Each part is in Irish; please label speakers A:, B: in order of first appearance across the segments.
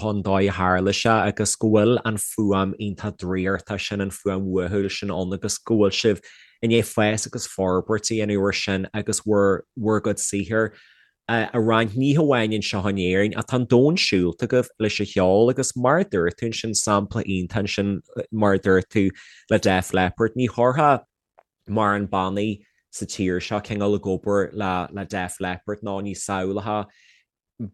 A: An dóigh a tharla sé agus go bhfuil an fuaim iontach draíochta sin, an fuaim uathúil sin ann agus go bhfuil sibh i ndiaidh fás agus forbairt a dhéanamh ar sin agus bhur bhur gcuid saothair a roinnt, ní hamháin anseo in Éirinn ach tá an domhan siúlta agaibh leis an cheol agus mar a dúirt tú ansin, sampla iontach ansin mar a dúirt tú le Def Leppard, ní chuirfeá mórán bannaí sa tír seo cineál ag obair le le Def Leppard nó ní samhlófá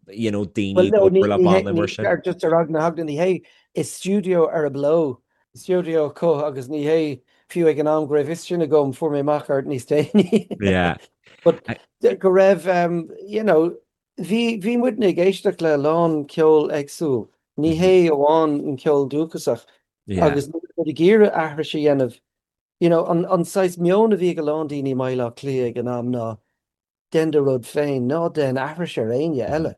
A: you know, daoine ag obair le banna mar sin.
B: Just ar eagla na heagla ní hé i stiúideo ar a blow, stiúideo acu agus ní hé fiú ag an am go raibh fhios sin agam fuair mé amach air níos déanaí.
A: Yeah.
B: But go raibh um, you know, bhí bhí muidne ag éisteacht le a lán ceol éagsúil. Ní hé amháin an ceol dúchasach agus muid ag iarraidh aithris a dhéanamh. You know, an, an saghas meon a bhí ag a lán daoine i mBaile Átha Cliath ag an am ná dein do rud féin, ná dein aithris ar éinne eile.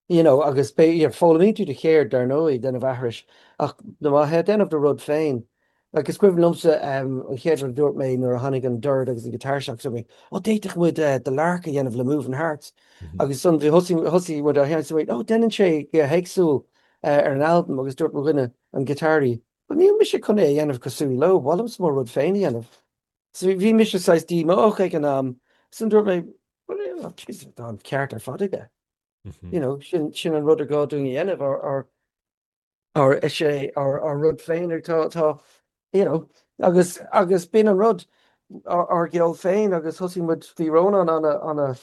B: You know, agus foghlaimíonn tú do cheird, dar ndóigh, déanamh aithris, ach má tá déanamh do rud féin. Like, is cuimhin liomsa an chéad rud a dúirt mé nuair a tháinig an dord agus an guitar isteach, dúirt mé, oh, d'fhéadfadh muid The Lark a dhéanamh le Moving Hearts. Agus ansan thosaigh, thosaigh muid á sheinnt, dúirt mé, oh, déanann sé go héagsúil ar an albam, agus dúirt mo dhuine, an giotáraí, well, níl mise chun é a dhéanamh cosúil leo, ba mhaith liomsa mo rud féin a dhéanamh. So bhí mise saghas díomách ag an am, ansan dúirt mé, well, Jesus, tá an ceart ar fad aige. You know, sin, sin an rud ar gá dúinn a dhéanamh, ár, ár, ár, is é ár, ár rud féin atá, atá, you know, agus, agus b'in an rud, ár, ár gceol féin agus thosaigh muid, bhí Rónán ana, ana,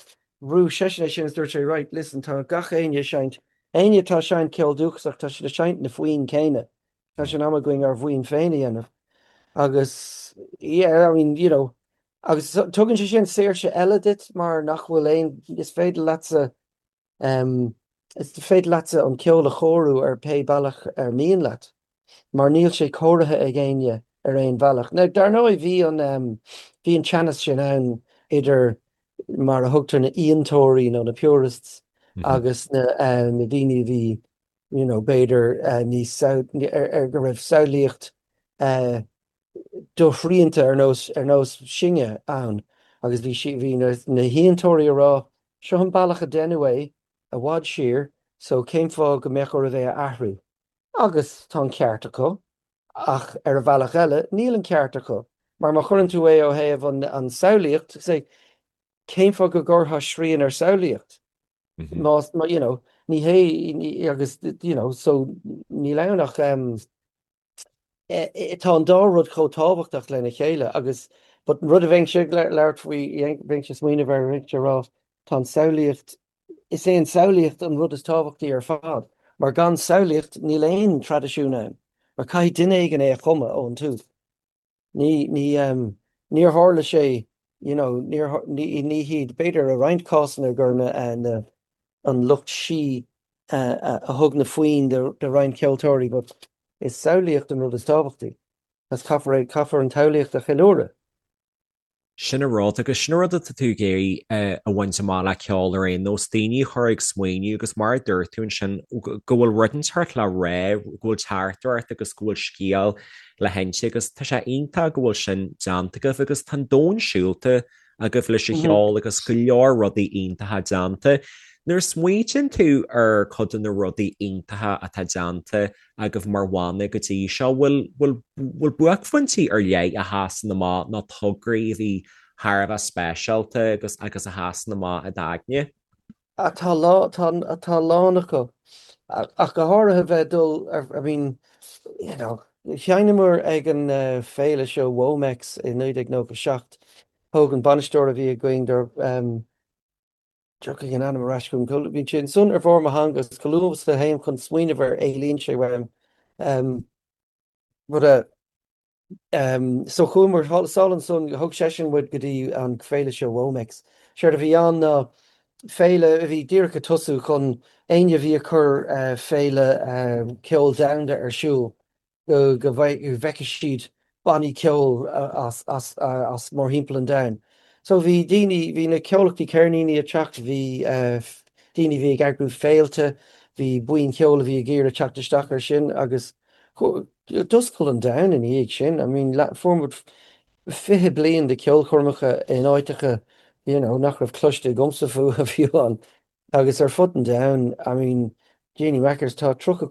B: bhrúigh seisean é sin is dúirt sé, right, listen, tá gach éinne ag seinnt, éinne atá ag seinnt ceol dúchasach, tá siad ag seinnt na foinn céanna. Tá sé in am againn ár bhfoinn féin a dhéanamh. Agus, yeah, I mean, you know, agus tugann sé sin saoirse eile duit mar nach bhfuil aon, is féidir leatsa, em, is féidir leatsa an ceol a chóiriú ar pé bealach ar mian leat, mar níl sé cóirithe ag éinne ar aon bhealach. Now, dar ndóigh, bhí an, em, bhí an teannas sin ann idir mar a thugtar na fhíontóirí nó na purists agus na, eh, na daoine a bhí you know, b'fhéidir níos ar go raibh samhlaíocht doshrianta ar nós ar nós sinne ann agus bhí sí bhí na na hfhíontóirí ag rá seo an bealach a deineadh é i bhfad siar so cén fáth go mbeadh oraibh é a athrú? Agus tá an ceart acu ach ar a bhealach eile níl an ceart acu mar má chuireann tú é ó thaobh an an samhlaíocht say cén fáth go gcuirfeá srian ar samhlaíocht? Más, you know, ní hé, agus, you know, so níl ann ach, tá an dá rud chomh tábhachtach lena chéile agus, but an rud a bheinnse ag labhairt faoi, bheinnse ag smaoineamh air, bheinnse ag rá, tá an samhlaíocht, is é an samhlaíocht an rud is tábhachtaí ar fad, mar gan samhlaíocht níl aon traidisiún ann, mar caithfidh duine éigin é a chumadh ón tús. Ní, ní, níor tharla sé, you know, níor, ní, ní hiad, b'fhéidir i roinnt cásanna gur na, na, an lucht sí a thug na foinn do, do roinnt ceoltóirí but is samhlaíocht an rud is tábhachtaí agus caithfear é, caithfear an tsamhlaíocht a cheiliúradh.
A: Sin an rud, agus sin an rud atá tú ag iarraidh a bhaint amach le ceol ar aon nós, daoine a chur ag smaoineamh agus mar a dúirt tú ansin, go bhfuil rud inteacht le rá, go bhfuil teachtaireacht agus go bhfuil scéal le hinse agus tá sé iontach go bhfuil sin déanta agaibh agus tá an domhan siúlta agaibh leis an cheol agus go leor rudaí iontacha déanta. Nuair a smaoitíonn tú ar cuid de na rudaí iontacha atá déanta agaibh mar bhanna go dtí seo? Bhfuil, bhfuil, bhfuil buaicphointí ar leith a sheasann amach nó tograí a bhí thar a bheith speisialta agus, agus a sheasann amach i d'aigne?
B: Ah, tá lá, tá, tá a lán acu. Ach go háirithe bheith ag dul ar, I mean, you know, sheinneamar ag an féile seo WOMEX i 1997. Thóg an bainisteoir a bhí againn dar, Tiocfaidh an ainm ar ais chugam. Bíonn sé ansan ar bharr mo theanga is chomh luath is a théim chun smaoineamh air éalaíonn sé uaim. But eh so chuamar sall ansan, thug seisean muid go dtí an féile seo WOMEX. Séard a bhí ann ná féile a bhí díreach ag tosú chun éinne a bhí ag cur féile ceoil domhanda ar siúl go bhfeicfeadh siad bannaí ceoil as mórthimpeall an domhain. So bhí daoine, bhí na comhlachtaí ceirníní ag teacht, bhí daoine a bhí ag eagrú féilte, bhí buíon cheoil a bhí ag iarraidh teacht isteach air sin agus d'oscail an domhan ina dhiaidh sin. I mean fuair muid 20 bliain de cheolchoirmeacha in áiteacha you know nach raibh cloiste agamsa fúthu fiú amháin agus ar fud an domhain, I mean Jeannie Mackers, tá 35.